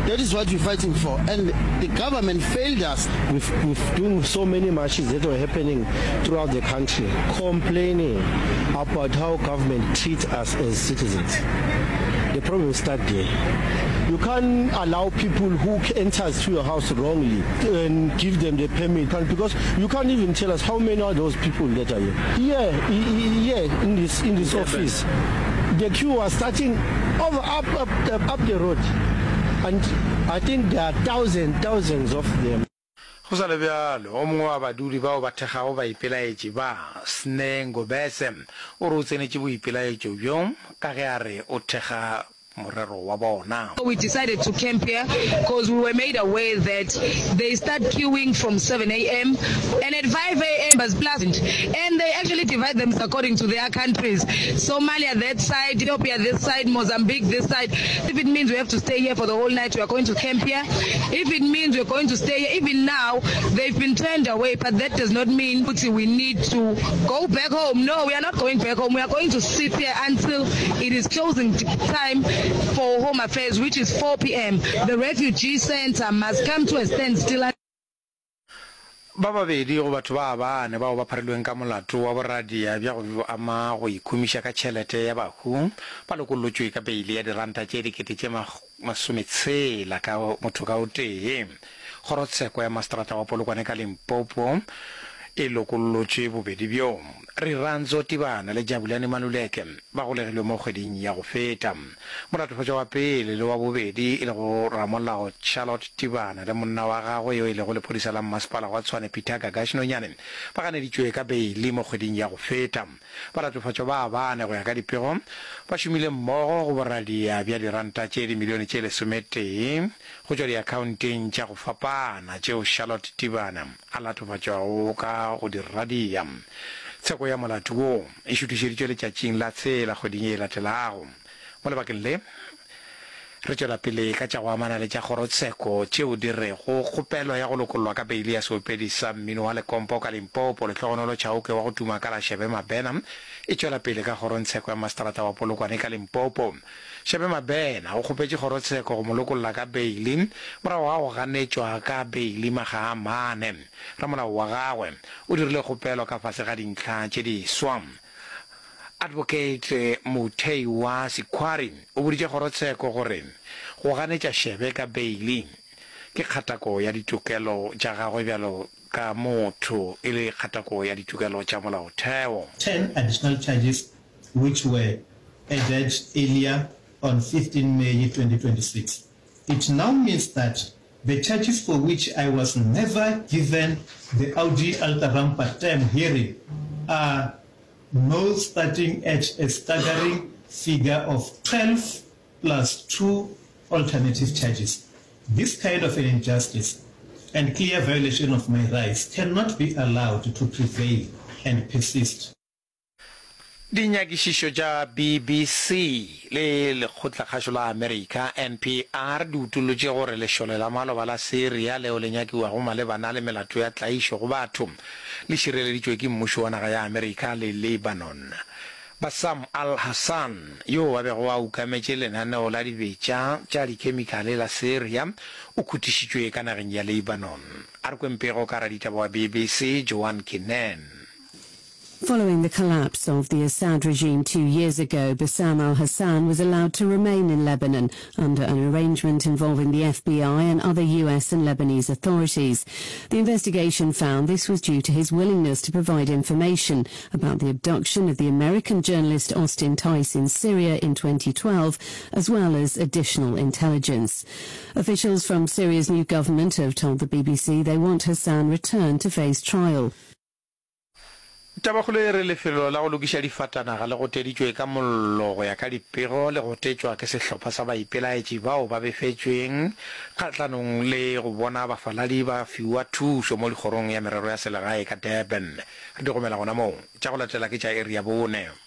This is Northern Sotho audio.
That is what we're fighting for and the government failed us. We've, we've doing so many marches that were happening throughout the country complaining about how government treats us as citizens. The problem start there. You can't allow people who enters to your house wrongly and give them the permit because you can't even tell us how many are those people that are here. Here, here in this in this office, the queue was starting over up up up the road and I think there are thousands thousands of them. Go sa le bjalo, o mongwe wa badudi bao ba thekgago baipelaetši ba, Sne Ngobese, o re o tsenetše boipelaetšo bjo ka ge a re o thekga morero wa bona. We decided to camp here cause we were made aware that they start queuing from 7am and at 5am was pleasant and they actually divide them according to their countries Somalia that side, Ethiopia this side, Mozambique this side. If it means we have to stay here for the whole night we are going to camp here. If it means we are going to stay here, even now they've been turned away but that does not mean ukuthi we need to go back home. No, we are not going back home. We are going to sit here until it is closing time for Home Affairs which is 4 pm. The refugee centre must come to a standstill. Ba babedi go batho ba bane bao ba pharilweng ka molato wa boradia bja go ama go ikhumiša ka tšhelete ya bahu ba lokollotšwe ka beile ya diranta tše dikete tše masometshela ka motho ka o tee. Kgorotsheko ya Maseterata wa Polokwane ka Limpopo e lokollotše bobedi bjo. Rirhandzu Tibana le Jabulani Maluleke ba golegilwe mo kgweding ya go feta. Molatofatšwa wa pele le wa bobedi e lego ramolao Charlotte Tibana le monna wa gagwe yo e lego lephodisa la mmasepala wa Tshwane Peter Gagash Nonyane ba ganeditšwe ka beili mo kgweding ya go feta. Balatofatšwa ba bane go ya ka dipego ba šomile mmogo go boradia bja diranta tše dimilione tše lesometee go tšwa diakhaonteng tša go fapana tšeo Charlotte Tibana a latofatšwago ka go di radia. Tsheko ya molato wo e šuthišeditšwe letšatšing la tshela kgweding ye e latelago. Mo lebakeng le, re tšwela pele ka tša go amana le tša kgorotsheko tšeo di rego kgopelo ya go lokollwa ka beili ya seopedi sa mmino wa lekompo ka Limpopo, Lehlogonolo Chauke wa go tuma ka la Shebe Mabena e tšwela pele ka kgorongtsheko ya maseterata wa Polokwane ka Limpopo. Shebe Mabena o kgopetše kgorotsheko go mo lokolla ka beili morago ga go ganetšwa ka beili makga a mane. Ramolao wa gagwe o dirile kgopelo ka fase ga dintlha tše diswa. Advocate Muthei wa Sikhwari o boditše kgorotsheko gore go ganetša Shebe ka beili ke kgatako ya ditokelo tša gagwe bjalo ka motho e le kgatako ya ditokelo tša molaotheo. 10 additional charges which were added earlier on 15 May 2026. It now means that the charges for which I was never given the Audi alteram partem hearing are now starting at a staggering figure of 12 plus two alternative charges. This kind of an injustice and clear violation of my rights cannot be allowed to prevail and persist. Dinyakišišo tša BBC le lekgotlakgašo la Amerika, NPR, di utollotše gore lešole la maloba la Syria leo le nyakiwago malebana le melato ya tlaišo go batho le šireleditšwe ke mmušo wa naga ya Amerika le Lebanon. Bassam al-Hassan, yoo a bego a ukametše lenaneo la dibetša tša dikhemikhale la Syria, o khutišitšwe ka nageng ya Lebanon. A re kweng pego ka raditaba wa BBC, Joanne Kinnan. Following the collapse of the Assad regime two years ago, Bassam al-Hassan was allowed to remain in Lebanon under an arrangement involving the FBI and other US and Lebanese authorities. The investigation found this was due to his willingness to provide information about the abduction of the American journalist Austin Tice in Syria in 2012, as well as additional intelligence. Officials from Syria's new government have told the BBC they want Hassan returned to face trial. Tabakgolo e re lefelo la go lokiša difatanaga le goteditšwe ka mollo go ya ka dipego le gotetšwa ke sehlopha sa baipelaetši bao ba befetšweng kgahlanong le go bona bafaladi ba fiwa thušo mo dikgorong ya merero ya selegae ka Durban. Re di gomela gona moo. Tša go latela ke tša iri ya bone.